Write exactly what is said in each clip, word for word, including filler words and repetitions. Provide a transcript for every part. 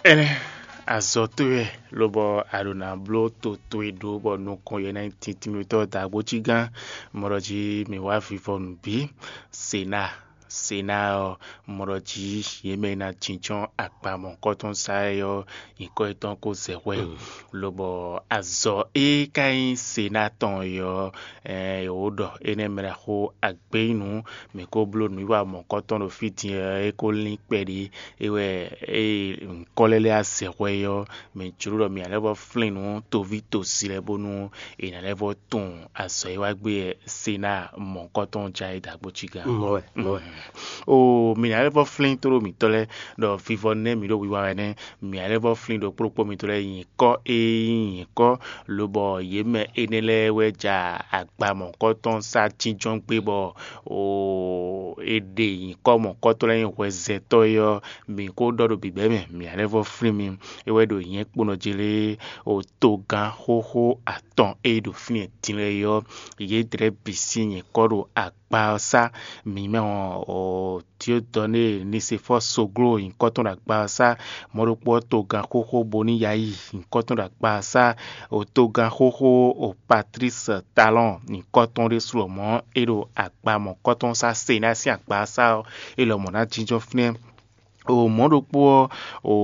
Ɛnɛ azɔ̌ towe wɛ, lobɔ a ɖo ná bló to towe ɖó bɔ nukɔn yɛ ná nyí tintinmɛtɔ́ dǎgbócígán. Mɔɖɔ jí mǐ wá vivɔ nǔ bí Sena. Sena ɔ́, mɔɖɔ jí yě mɛ e ná jínjɔ́n akpa mɔ̌hunkɔtɔn sá é ɔ́, nyǐkɔ yětɔn ko zɛ hwɛ, lobɔ azɔ̌ e ka nyí Sena tɔn é ɔ́, ɛɛ, è wǒ ɖɔ énɛ́ mɛ ɖaxó agbeyínu. Mǐ ko bló nǔwiwa mɔ̌hunkɔtɔn ɖo fí din ɔ́, é ko lín kpɛɖé. É wɛ ée nyǐkɔ lɛ́ɛ lɛ́ɛ azɛ hwɛ é ɔ́, mǐ jló ɖɔ mǐ ná lɛ́ vɔ́ flín nǔ toví tosi lɛ́ɛ bónú è nǎ lɛ́ vɔ́ tunwun azɔ̌ e wá gbé wɛ Sena mɔ̌hunkɔtɔn ján é dǎgbócígán. Mɔ̌ wɛ, mɔ̌ wɛ. Oo, mǐ ná lɛ́ vɔ́ flín tóɖó mǐtɔn lɛ́ɛ ɖɔ vivɔ nɛ́ mǐ ɖo wiwa wɛ nɛ́. Mǐ ná lɛ́ vɔ́ flín ɖokpó ɖokpó mǐtɔn lɛ́ɛ nyǐkɔ e nyí nyǐkɔ, lobɔ yě mɛ énɛ́ lɛ́ɛ wɛ ja agba mɔ̌hunkɔtɔn sá jínjɔ́n gbé bɔ è ɖe nyǐkɔ mɔ̌hunkɔtɔn lɛ́ɛ nyí hwɛzɛntɔ́ é ɔ́, mǐ ko ɖɔ ɖo bǐbɛ́ mɛ, mǐ ná lɛ́ vɔ́ flín mi. É wɛ ɖo nyɛ̌ kponɔ jí lé, togán xóxó atɔn e ɖo fínɛ́ din lɛ́ɛ é ɔ́, yědɛɛ bǐ sín nyǐkɔ ɖo agba ɔ́ sá. Mǐ mɛ ɔ́, Diodɔne Nisefɔ́ɔ Sogló nyǐkɔ tɔn ɖo agba ɔ́ sá. Mɔ̌ ɖokpó ɔ́, togán xóxó Boniyayí nyǐkɔ tɔn ɖo agba ɔ́ sá. Togán xóxó Patlísi Talɔ́ɔn nyǐkɔ tɔn ɖésú lɔmɔ̌ é ɖo agba mɔ̌kɔ́tɔn sá. Sena sín agba ɔ́ sá ɔ́, é lɔmɔ̌ ná jínjɔ́n fínɛ́. O mɔ̌ ɖokpó ɔ́, o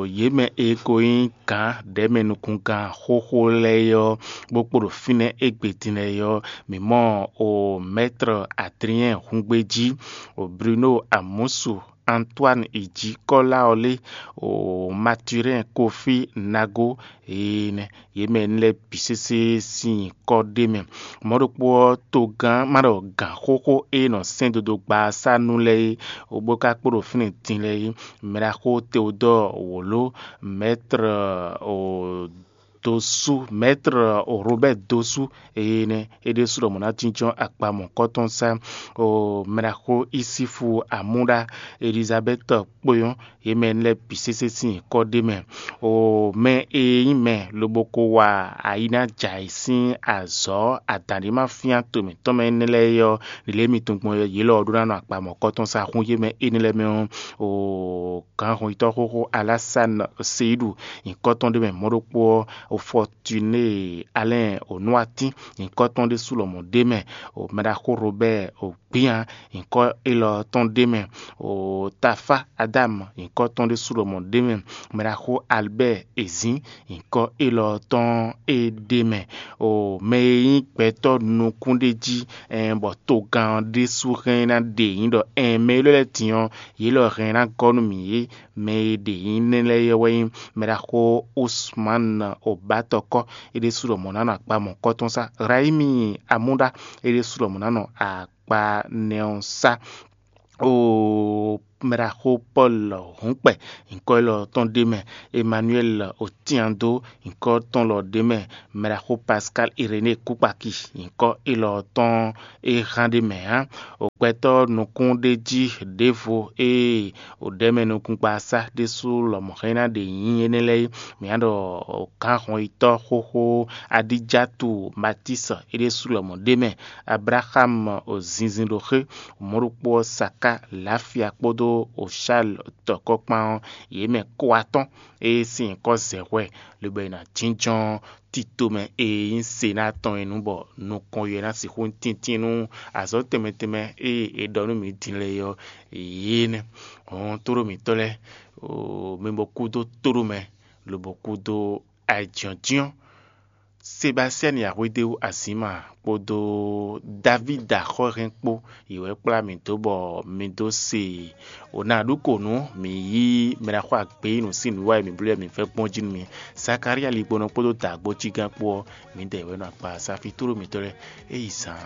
yě mɛ e ko nyí gǎn ɖɛ̌mɛ nukúngán xóxó lɛ́ɛ é ɔ́, bó kpo ɖo fínɛ́ égbé din lɛ́ɛ é ɔ́, mǐ mɔ o mɛ̌tre Adriɛn húngbéjí, o Bruno Amusu, Antoine Ijikɔ́lá ɔ́ lé, o Maturɛn Kofi Nago, énɛ́ yě mɛ énɛ́ lɛ́ɛ bǐ sésé sín nyǐkɔ ɖ'é mɛ. Mɔ̌ ɖokpó ɔ́, togán ma ɖɔ gǎn xóxó e nɔ sɛ́n dodogba ɔ́ sá nú lɛ́ɛ é, bó ka kpo ɖo fínɛ́ din lɛ́ɛ é, mɛɖaxó Teodɔ́ɔ wǒló, mɛ̌tre o Dosú, mɛ̌tre o Robɛ́ɛ Dosú, énɛ́ é ɖésú ɖɔ mɔ̌ ná jínjɔ́n akpa mɔ̌kɔ́tɔn sá, o mɛɖaxó Isífu Amúɖá, Elizabɛ́ti kpó nyɔ́, yě mɛ énɛ́ lɛ́ɛ bǐ sésé sín nyǐkɔ ɖ'é mɛ. O mɛ e nyí mɛ lobo ko wa ayi ná jɛ ayǐ sín azɔ̌ adǎn ɖé ma fyán to mǐtɔn mɛ énɛ́ lɛ́ɛ é ɔ́, ɖě lě mi tunwun gbɔn yě lɔ ɔ́ ɖó ná nɔ akpa mɔ̌kɔ́tɔn sá hún yě mɛ énɛ́ lɛ́ɛ mɛ ɔ́, o gǎnhɔnyitɔ́ xóxó Alásán Seyiɖu nyǐkɔ tɔn ɖ'é mɛ. Mɔ̌ ɖokpó ɔ́, o Fɔtiné Alɛ́n Onúwatín nyǐkɔ tɔn ɖésú lɔmɔ̌ ɖ'é mɛ. O mɛɖaxó Robɛ́ɛ o Gbían nyǐkɔ élɔ́ tɔn ɖ'é mɛ. O Tafá Adámu nyǐkɔ tɔn ɖésú lɔmɔ̌ ɖ'é mɛ. Mɛɖaxó Albɛ́ɛ Ezǐn nyǐkɔ élɔ́ tɔn é ɖ'é mɛ. O mɛ e nyí gbɛtɔ́ nukúnɖéjí, ɛn bɔ togán ɔ́ ɖésú hɛn ná ɖe nyǐ ɖɔ ɛn mɛ élɔ́ lɛ́ɛ din ɔ́, yě lɔ hɛn ná gɔ́ nú mǐ é. Mɛ e ɖe nyǐ nɛ́ lɛ́ɛ é wɛ nyí mɛɖaxó Usman Obatɔkɔ, é ɖésú lɔmɔ̌ ná nɔ akpa mɔ̌kɔ́tɔn sá. Rayimi Amúɖá, é ɖésú lɔmɔ̌ ná nɔ akpa nɛ́ ɔ́ sá. O mɛɖaxó Pɔ́lu Hǔnkpɛ, nyǐkɔ élɔ́ tɔn ɖ'é mɛ. Emmanuel Otiando, nyǐkɔ tɔn lɔ ɖ'é mɛ. Mɛɖaxó Pascal Iréné Kúkpaki, nyǐkɔ élɔ́ tɔn é hán ɖ'é mɛ ǎ. O gbɛtɔ́ nukúnɖéjí ɖěvo e o ɖɛ̌mɛ nukúngbasá ɖésú lɔmɔ̌ hɛn ná ɖe nyǐ énɛ́ lɛ́ɛ é. Mǐ ná ɖɔ gǎnhɔnyitɔ́ xóxó Adijatu Matísi, é ɖésú lɔmɔ̌ ɖ'é mɛ. Ablaxámu o zinzin ɖo xé, mɔ̌ ɖokpó ɔ́ Saká Lafia kpódó o Shal tɔkɔ́kpán ɔ́, yě mɛ kó atɔ́n e sín nyǐkɔ zɛ hwɛ, lobo e ná jínjɔ́n tito mɛ e nyí Sena tɔn é nu bɔ nukɔn yɛ ná sixú nyí tíntín nú azɔ̌ tɛnmɛ tɛnmɛ e è ɖɔ nú mǐ din lɛ́ɛ é ɔ́, yě nɛ́. Hɔn tóɖó mǐtɔn lɛ́ɛ, mi bo kúdó tóɖó mɛ, lobo kúdó ayǐjínjɔ́n. Sebastiani Axwédéwu Azǐma kpódó Davída Xɔ́hɛn kpó, yě wɛ kplá mì dó bɔ mi dó se wǒ ná ɖu kǒ nú mǐ yí mɛ ná xɔ agbeyínu sín nǔwiwa e mǐ bló wɛ mǐ vɛ́ gbɔn jí nú mi. Zakalía ligbɔnɔ kpódó dǎgbójígán kpó ɔ́, mǐdɛɛ wɛ nɔ akpa safi tlóló mǐtɔn lɛ́ɛ é yi zaan.